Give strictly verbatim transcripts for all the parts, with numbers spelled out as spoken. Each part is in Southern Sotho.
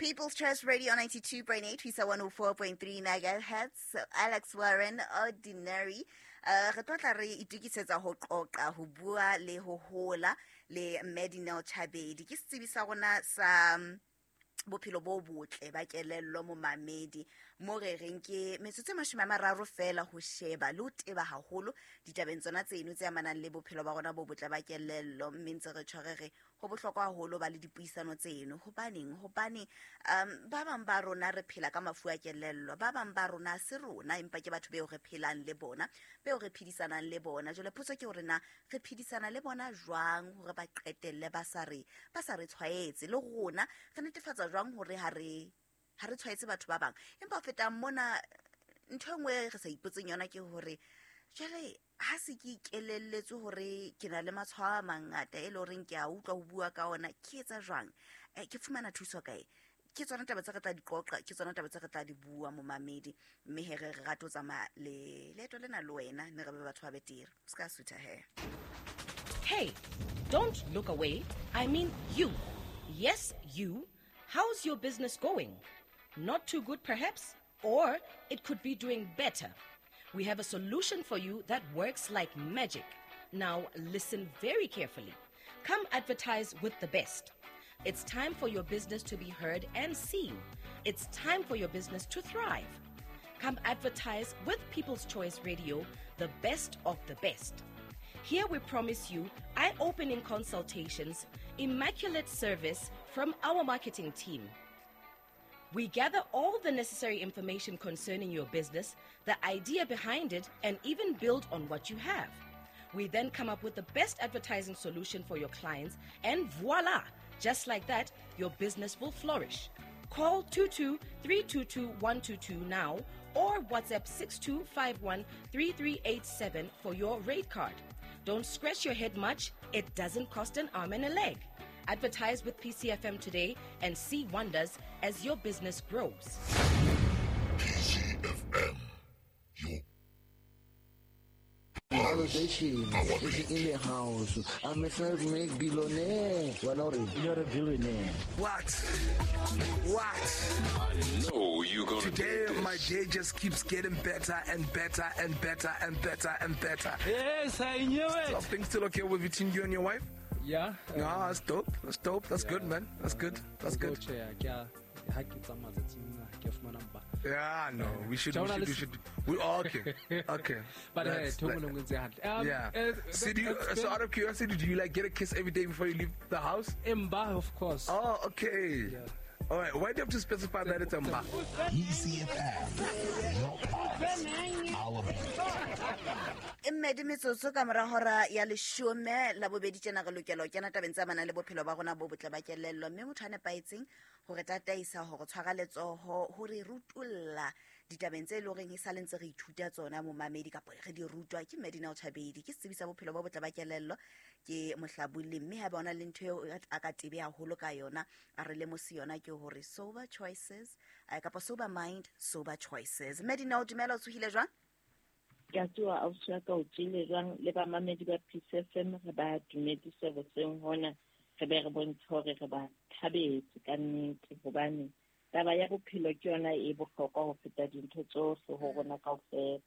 People's Choice Radio ninety-two point eight, Twisa one oh four point three megahertz. Alex Warren, Ordinary. Uh, re tlotla re itukisetsa ho qoqa, ho bua le ho hola le Medinel Chabedi. Ke setsebi sa rona sa bophelo bo botle ba kelello momamedi mo re reng ke metsotso e mashome a mararo fela ho sheba le ho teba haholo ditabeng tsona tseno tse amanang le bophelo ba rona bo botle ba kelello, mme ntse re tshware re ho bohlokwa haholo ba le dipuisano tseno. Hobaneng? Hobane um ba bang ba rona re phela ka mafu a kelello, ba bang ba rona se rona empa ke batho beo re phelang le bona, beo re phedisanang le bona. Jwale potso ke hore na re phedisana le bona jwang hore ba qetelle ba sa re ba sa re tshwaetse, le rona re netefatsa jwang hore ha re ha re tshwaetse batho ba bang. Empa ho feta mona ntho e nngwe re sa ipotseng yona ke hore jwale ha se ke ikelelletswe hore ke na le matshwao a mangata e le horeng ke a utlwa ho bua ka ona, ke etsa jwang? Eh, ke fumana thuso kae? Ke tsona taba tse re tla di qoqa, ke tsona taba tse re tla di bua momamedi, mme he re re rate ho tsamaya le leeto lena le wena, mme re be batho ba betere. O ska sutha he. Hey, don't look away. I mean you. Yes, you. How's your business going? Not too good, perhaps? Or it could be doing better. We have a solution for you that works like magic. Now, listen very carefully. Come advertise with the best. It's time for your business to be heard and seen. It's time for your business to thrive. Come advertise with People's Choice Radio, the best of the best. Here we promise you eye-opening consultations, immaculate service from our marketing team. We gather all the necessary information concerning your business, the idea behind it, and even build on what you have. We then come up with the best advertising solution for your clients, and voila! Just like that, your business will flourish. Call two two three two two one two two now or WhatsApp six two five one three three eight seven for your rate card. Don't scratch your head much. It doesn't cost an arm and a leg. Advertise with P C F M today and see wonders as your business grows. P C F M, your validation is in the house. I'm a self-made billionaire. You're a billionaire. What? What? I know you're gonna Today, do this. My day just keeps getting better and better and better and better and better. Yes, I knew it. So things still okay with between you and your wife? Yeah. Yeah, that's dope. That's dope. That's yeah. good, man. That's good. That's good. Yeah, no, we should, we should, we should, we all okay, okay. But uh, um, yeah. Uh, so, do you, so out of curiosity, do you like get a kiss every day before you leave the house? Mba, of course. Oh, okay. Yeah. All right. Why do you have to specify that it's Mba? E C F M, your pulse, our beat. Mmedi metsotso ka mora hora ya leshome la bobedi tjena re lokela ho kena tabeng tsa manang le bophelo ba rona bo botle ba kelello, mme motho a nepahetseng hore tataisa hore tshwara letsoho hore rutulla ditabeng tse loreng e sa le ntse re ithuta tsona momamedi kapa re di rutwa ke Medinel Chabedi, ke setsebi sa bophelo bo botle ba kelello, ke mohlabulli, mme ha bona le ntho eo a ka tebe haholo ka yona a re lemose yona ke hore sober choices kapa sober mind, sober choices. Medinel, dumela, o tsohile jwang? Ke a tsoha ausi wa ka, o tsohile jwang? Le bamamedi ba P C F M re ba dumedise hoseng hona, re be re bontshe hore re ba thabetse ka nnete, hobane taba ya bophelo ke yona e bohlokwa ho feta dintho tsohle ho rona kaofela.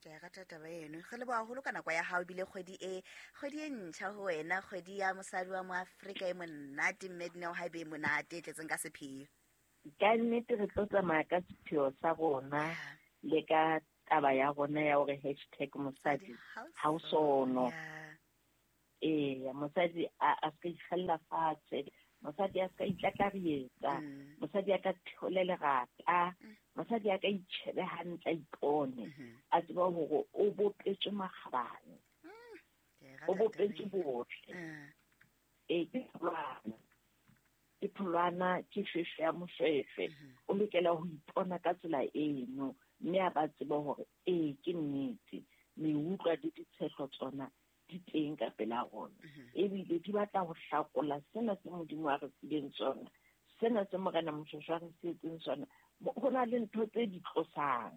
Ke a rata taba eno. Re leboha haholo ka nako ya hao, ebile kgwedi e kgwedi e ntjha ho wena, kgwedi ya mosadi wa Moafrika e monate, Medinel ha e be monate e tletseng ka sepheo. Ka nnete re tlo tsamaya ka sepheo sa rona le ka taba ya rona ya hore hashtag mosadi ha o sono. Eh, mosadi a a ska ikgella fatshe, mosadi a ska itlatlarietsa, mosadi a ka theole lerata, mosadi a ka itjhebe hantle a ipone, a tseba hore o bopetswe makgabane, o bopetswe botle. Eh, ke tholwana, ke tholwana, ke shweshwe ya moshweshwe. O lokela ho ipona ka tsela eno, mme a ba tsebe hore ee ke nnete, meutlwa le ditshehlo tsona di teng ka pela rona, ebile di batla ho hlakola sena se Modimo a re fileng sona, sena se Morena Moshweshwe a re sietseng sona. Ho na le ntho tse di tlosang,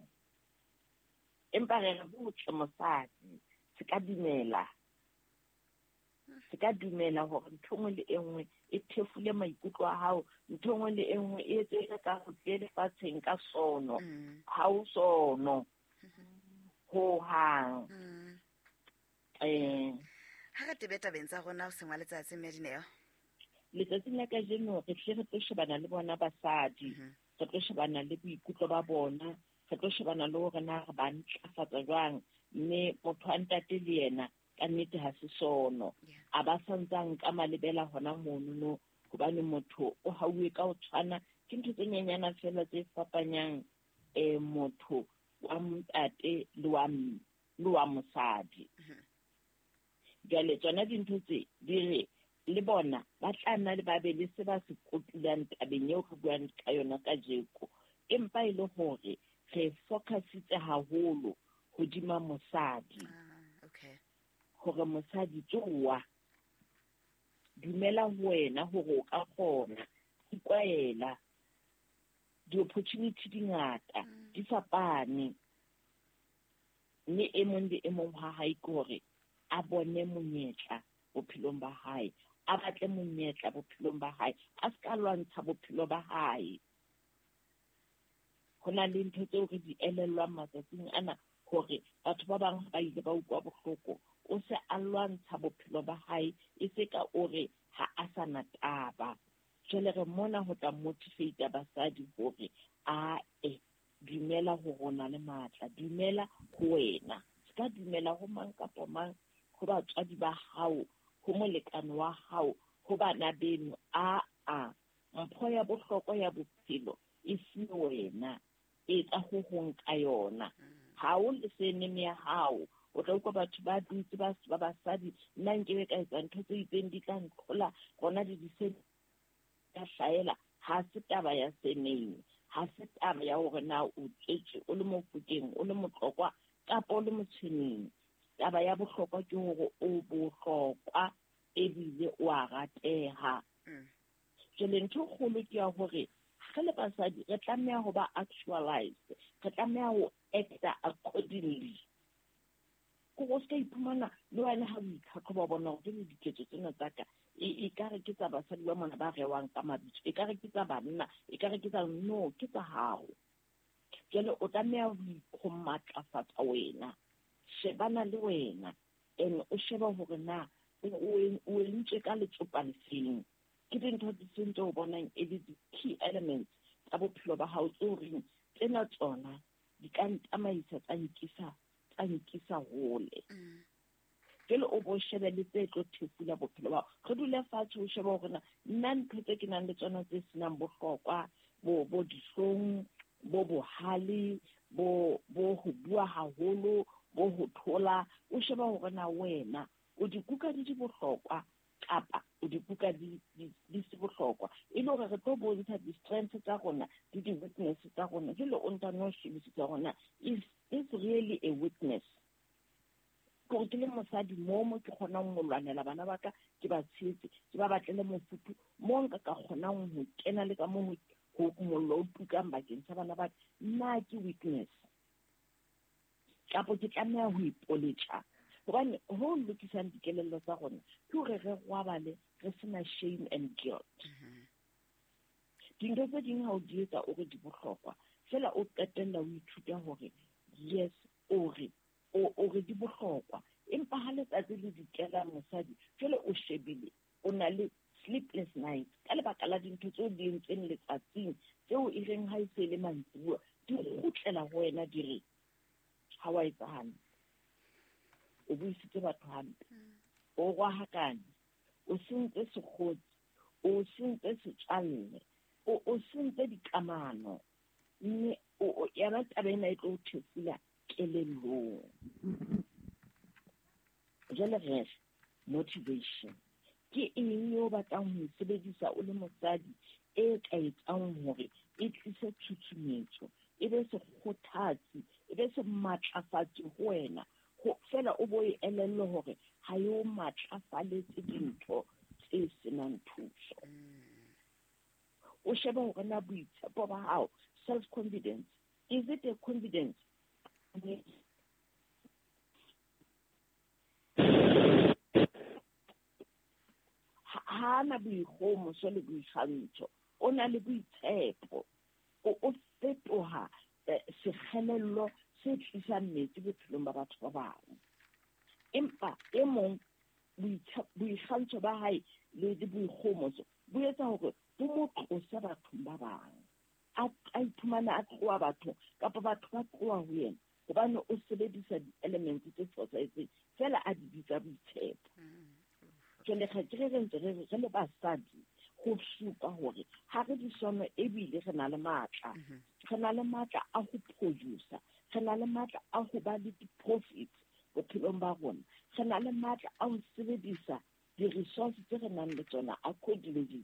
empa re re botle mosadi se ka dumela, se ka dumela hore ntho nngwe le e nngwe e thefule maikutlo a hao, ntho e nngwe le e nngwe e etse e ka go tle lefatsheng ka sono. Ha o sono ho hang. Eh ha re tebe tabeng tsa rona ho sengwa letsatsi mme Dineo. Letsatsing la kajeno re tle re tlo shebana le bona basadi, re tlo shebana le boikutlo ba bona, re tlo shebana le hore na re ba ntlafatsa jwang, mme motho wa ntate le yena ka nnete ha se sono. A ba santsang ka malebela hona monono, hobane motho o hauwe ka ho tshwana, ke ntho tse nyenyana fela tse fapanyang eh motho wa ntate le wa le wa mosadi. Jwale tsona dintho tse di re le bona ba tla nna le ba be le se ba se kotulang tabeng eo re buang ka yona kajeko, empa e le hore re focusitse haholo hodima mosadi. Okay. Hore mosadi tsoa dumela ho wena hore o ka kgona, ikwela, di-opportunity di ngata, di fapane, mme e mong le e mong ha hae ke hore a bone monyetla bophelong ba hae, a batle monyetla bophelong ba hae, a se ka lwantsha bophelo ba hae. Ho na le ntho tseo re di elellwang matsatsing ana hore batho ba bang ba ile ba utlwa bohloko, o se a lwantsha bophelo ba hae, e se ka o re ha a sa na taba. Jwale re mona ho tla motivate basadi hore a e dumela ho rona le matla, dumela ho wena, se ka dumela ho mang kapa mang, ho batswadi ba hao, ho molekane wa hao, ho bana beno. A a mpho ya bohlokwa ya bophelo e fuwe wena, etsa ho hong ka yona. Ha o le surname ya hao, o tla utlwa batho ba dutse ba ba basadi, nna nkebe ka etsa ntho tse itseng di tla ntlhola, rona di di se ka hlaela. Ha se taba ya surname, ha se taba ya hore na o tswetswe o le Mofokeng, o le Motlokwa kapa o le Motshweneng. Taba ya bohlokwa ke hore o bohlokwa ebile o a rateha. Jwale ntho e kgolo ke ya hore re le basadi re tlameha ho ba actualized, re tlameha ho acta accordingly. Ko o ska iphumana le wena ha o itlhatlhoba o bona hore le diketso tsena tsa ka e ekare ke tsa basadi ba mona ba rewang ka mabitso, ekare ke tsa banna, ekare ke tsa no, ke tsa hao. Jwale o tlameha ho matlafatsa wena, shebana le wena, and o sheba hore na o entswe ka letsopa lefeng. Ke dintho tse seng tse o bonang e le di-key elements tsa bophelo ba hao tse o reng tsena tsona di ka ntsamaisa tsa nkisa tsa nkisa hole. Jwale o bo shebe le tse tlo thefula bophelo ba hao. Re dule fatshe o shebe hore na nna ntho tse ke nang le tsona tse senang bohlokwa, bo bo dihlong, bo bohale, bo bo ho bua haholo, bo ho thola, o sheba hore na wena o di kuka di di bohlokwa kapa o di kuka di di se bohlokwa, e le hore re tlo bontsha di-strengths tsa rona le di-weakness tsa rona. Jwale o ntano shebisisa hore na is this really a weakness? Kore ke le mosadi mo mo ke kgonang ho lwanela bana ba ka, ke ba tshehetse, ke ba batlele mofuthu mo nka ka kgonang ho kena le ka mo ho mollo o tukang bakeng sa bana ba ka, na ke weakness kapo ke tlameha ho ipoletsa? Hobane ho lokisang dikelello tsa rona ke hore re robale re sena shame and guilt. Dintho tse ding ha o di etsa o re di bohlokwa, fela o qetella o ithuta hore yes, o re o re di bohlokwa, empa ha letsatsi le dikela mosadi jwale o shebile o na le sleepless nights ka lebaka la dintho tseo di entseng letsatsing tseo e reng ha e se le mantsibuya di kgutlela ho wena di re ha wa etsa hantle, o buisitse batho hampe, o rwahakane, o sentse sekgotsi, o sentse setswalle, o o sentse dikamano, mme o yona taba ena e tlo o thefula kelellong. Jwale re motivation ke eng eo batlang ho e sebedisa o le mosadi e ka etsang hore e tlise tshutshumetso, e be sekgothatsi, e be se matlafatsi ho wena, fela o bo e elellwe hore ha e o matlafaletse dintho tse senang thuso. O shebe hore na boitshepo ba hao, self confidence, is it a confidence? Ha Ha na boikgohomoso le boikgantsho, o na le boitshepo. O o fetoha sekgelello se tlisang metsi bophelong ba batho ba bang. Empa e mong boikgantsho ba hae le boikgohomoso bo etsa hore bo mo tlose bathong ba bang. A iphumana a tloha bathong kapa batho ba tloha ho yena hobane o sebedisa di-elements tse fosahetseng fela a di bitsa boitshepo. Jwale ga ke re re ntse re re le basadi go supa hore ha re disono ebile re na le matla. Re na le matla a ho producer, re na le matla a ho ba le di-profits bophelong ba rona, re na le matla a ho sebedisa di-resource tse re nang le tsona accordingly.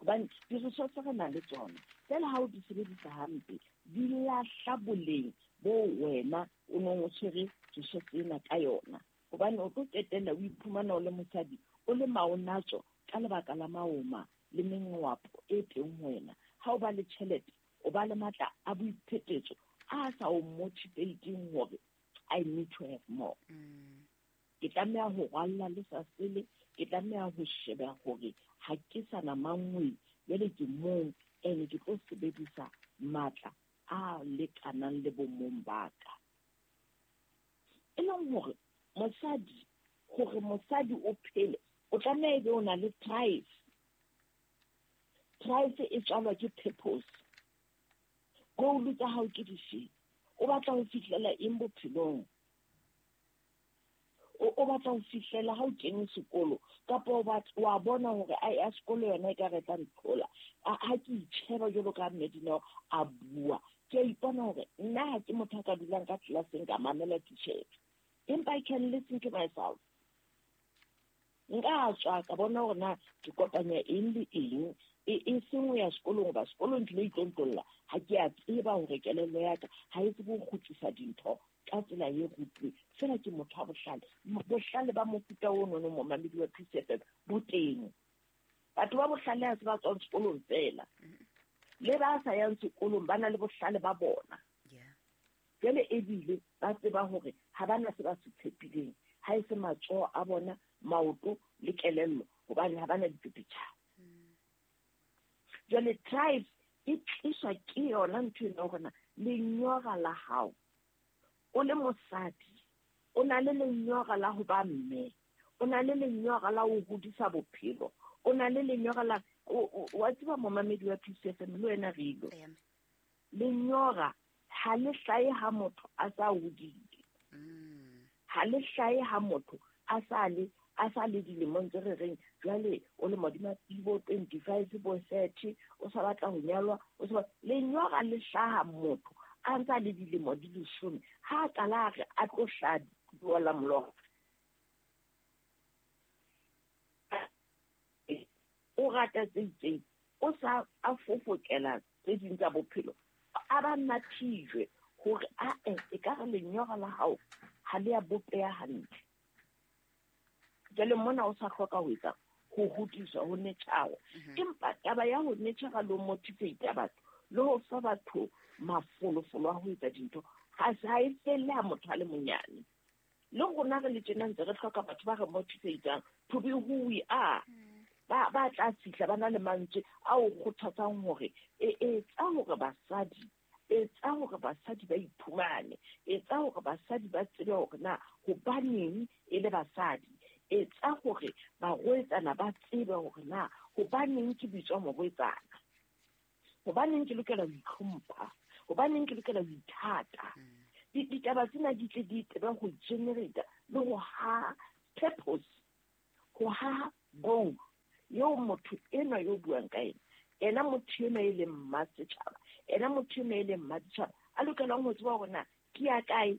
Hobane di-resource tse re nang le tsona fela ha o di sebedisa hampe di lahla boleng bo wena o nong o tshwere resource ena ka yona. Hobane o tlo qetella o iphumana o le mosadi o le maonatso ka lebaka la maoma le mengwapo e teng ho wena. Ha o ba le tjhelete, o ba le matla a boiphetetso a sa o motivating hore I need to have more. Ke tlameha ho rwalla le sa sele, ke tlameha ho sheba hore ha ke sa na mangwe, jwale ke mong ene ke tlo sebedisa matla a lekanang le bomong ba ka. E leng hore mosadi, hore mosadi o phele, o tlameha ebe o na le drive. Drive e tswalwa ke purpose. Goal tsa hao ke dife? O batla ho fihlela eng bophelong? O o batla ho fihlela ha o kene sekolo kapa o batla wa bona hore ai a sekolo yona e ka re tla nthola. Ha ke itjheba jwalo ka Medina a bua, ke a ipona hore nna ha ke motho a ka dulang ka tlelaseng ka mamela titjhere. Empa I can listen to myself. Nka tswa ka bona hore na ke kopanya eng le eng e e seng ho ya sekolong ba sekolong ke lo itlontolla. Ha ke a tseba hore kelello ya ka ha e tsebe ho kgutlisa dintho ka tsela e rutuwe. Fela ke motho wa bohlale. Bohlale ba mofuta ono no momamedi wa P C F M bo teng. Batho ba bohlale ha se ba tswang sekolong fela. Le ba sa yang sekolong ba na le bohlale ba bona. Jwale ebile ba tseba hore ha ba na se ba se tshepileng, ha e se matsoho a bona, maoto le kelello, hobane ha ba na dipepetjha. Jwale tribe e tliswa ke yona ntho ena hore na lenyora la hao o le mosadi, o na le lenyora la ho ba mme, o na le lenyora la ho hodisa bophelo, o na le lenyora la wa tseba momamedi wa P C F M le wena re ilo. Lenyora ha le hlahe ha motho a sa hodile. Ha le hlahe ha motho a sa le a sa le dilemong tse re reng jwale o le modima bo twenty-five bo thirty o sa batla ho nyalwa, o sa lenyora le hlaha motho a ntsa le dilemo di leshome ha qala a re a tlo hlaha la molora. O rata tse itseng, o sa a fofokela tse ding tsa bophelo, a ba nathijwe hore a e e ka re lenyora la hao ha le a bopeha hantle. Jwale mona o sa hloka ho etsa ho hodiswa ho netjhawa. Empa taba ya ho netjhara le ho motivate batho le ho fa batho mafolofolo a ho etsa dintho ha se ha e felle ha motho a le monyane. Le rona re le tjena ntse re hloka batho ba re motivatang to be who we are. Ba ba tla fihla ba na le mantswe a o kgothatsang hore e etsa hore basadi etsa hore basadi ba iphumane, etsa hore basadi ba tsebe hore na hobaneng e le basadi, etsa hore barwetsana ba tsebe hore na hobaneng ke bitswa morwetsana, hobaneng ke lokela ho itlhompha, hobaneng ke lokela ho ithata. Ditaba tsena di tle di tsebe ho generate le ho ha purpose, ho ha goal eo motho enwa yo buang ka ena, ena motho enwa e leng mmasetjhaba, ena motho enwa e leng mmaditjhaba a lokelang ho tseba hore na ke ya kae,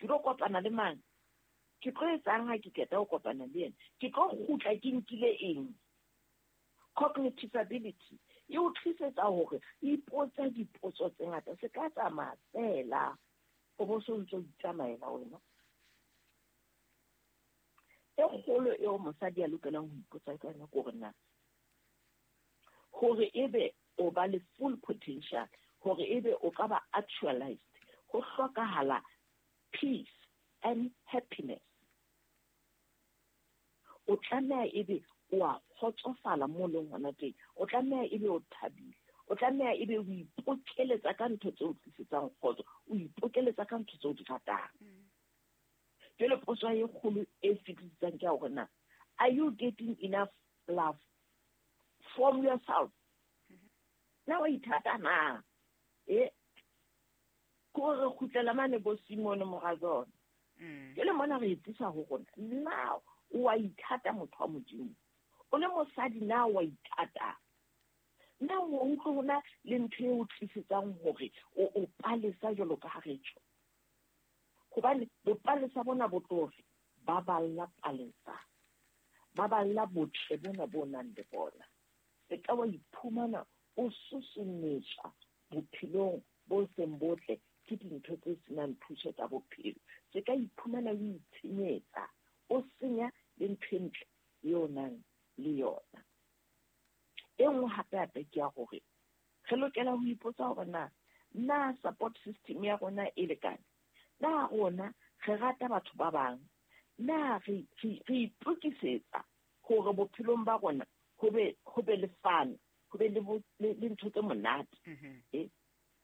ke tlo kopana le mang, ke tlo etsang ha ke qeta ho kopana le yena, ke tlo kgutla ke nkile eng. Cognitive ability e o tlisetsa hore ipotse dipotso tse ngata, se ka tsamaya fela o bo so ntso itsamaela wena. E kgolo eo mosadi a lokelang ho ipotsa ka yona ke hore na hore ebe o ba le full potential, hore ebe o ka ba actualized, ho hlokahala peace and happiness. O tlameha ebe o a kgotsofala mo leng hona teng. O tlameha ebe o thabile, o tlameha ebe o ipokeletsa ka ntho tse o tlisetsang kgotso, o ipokeletsa ka ntho tse o di ratang. Jwale potso e kgolo e fetisisang ke ya hore na are you getting enough love from yourself? Na wa ithata na? E ko re kgutlela mane bo Simone Morazone. Jwale mona re etsisa ho rona. Na o wa ithata motho wa Modimo? O le mosadi na wa ithata? Na o utlwe hona le ntho e o tlisetsang hore o o palesa jwalo ka ha re tjho? Hobane bopalesa bona bo tlofe ba balla palesa, ba balla botle bona bo nang le bona. Se ka wa iphumana o susumetswa bophelong bo seng botle ke dintho tse senang thuso tsa bophelo. Se ka iphumana o itshenyetsa, o senya le ntho e ntle eo nang le yona. E nngwe hape hape ke ya hore re lokela ho ipotsa hore na na support system ya rona e lekane? Na rona re rata batho ba bang? Na re re itokisetsa hore bophelong ba rona ho be ho be le fun, ho be le le ntho tse monate? Eh,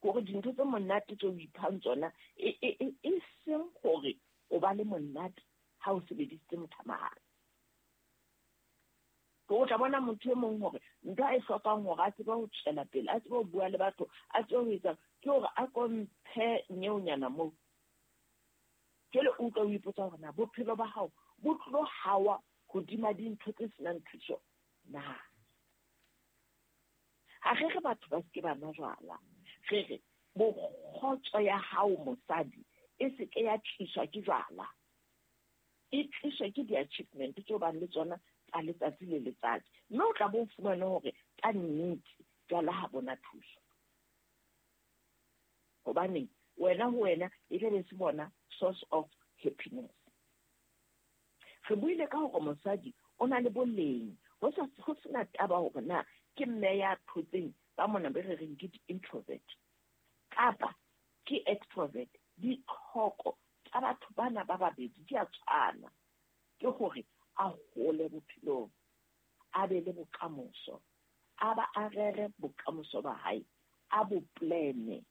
hore dintho tse monate tse o iphang tsona e e e seng hore o ba le monate ha o sebedisitse mothamahane. O tla bona motho e mong hore ntho a e hlokang hore a tsebe ho tswela pele, a tsebe ho bua le batho, a tsebe ho etsa, ke hore a komphe nyeonyana moo. Jwale o utlwa o ipotsa hore na bophelo ba hao bo tlo hawa hodima dintho tse senang thuso na? Ha re re batho ba seke ba nwa jwala, re re bokgotso ya hao mosadi e seke ya tliswa ke jwala, e tliswa ke di-achievement tseo bang le tsona tsa letsatsi le letsatsi. Mme o tla bo fumane hore ka nnete jwala ha bona thuso. Hobaneng wena ho wena e tla be se bona source of happiness. Re buile ka hore mosadi o na le boleng, ho sa ho sena taba hore na ke mme ya thotseng ba mona be re reng ke di-introvert kapa ke extrovert. Ditlhoko tsa batho bana ba babedi di a tshwana, ke hore a hole bophelong, a be le bokamoso, a ba a rere bokamoso ba hae, a bo plane,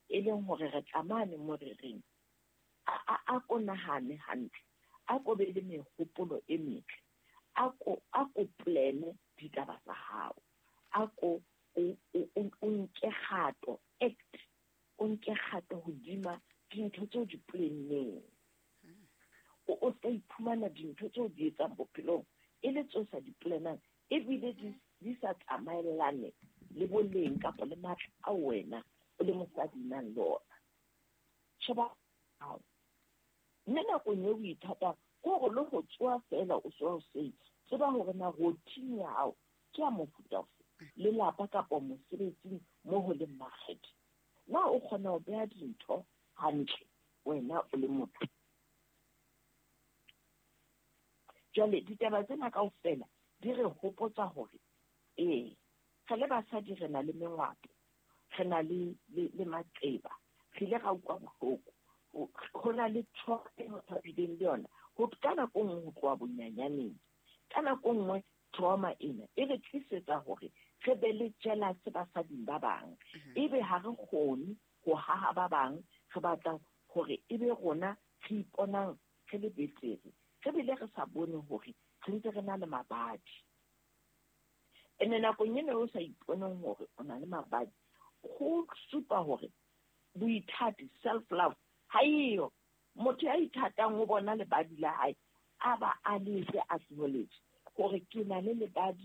e leng hore re tlamane mo re reng a a ko nahane hantle, a ko be le mehopolo e metle, a ko a ko plane ditaba tsa hao, a ko o o nke kgato, act, o nke kgato hodima dintho tseo di planneng. O o ska iphumana dintho tseo di etsang bophelong e le tseo sa di planang, ebile di di sa tsamaellane le boleng kapa le matla a wena o le mosadi nang le ona. Sheba hao. Mme nakong eo o ithatang ke hore le ho tsoha feela o tsoha hoseng, tseba hore na routine ya hao ke ya mofuta ofe, lelapa kapa mosebetsing mo ho leng makgethe. Na o kgona ho beha dintho hantle wena o le motho? Jwale ditaba tsena kaofela di re hopotsa hore ee, re le basadi re na le mengwato, re na le le maqeba, re ile ra utlwa bohloko, ho na le trauma e motho a bileng le yona ho ka nako nngwe ho tloha bonyanyaneng. Ka nako nngwe trauma ena e re tlisetsa hore re be le jealous basading ba bang, ebe ha re kgone ho haha ba bang, re batla hore ebe rona re iponang re le betere, re bile re sa bone hore re ntse re na le mabadi. Ene nakong ena o sa iponeng hore o na le mabadi, ho supa hore boithati, self love ha eyo. Motho ya ithatang o bona lebadi la hae, a ba a letse acknowledge hore ke na le lebadi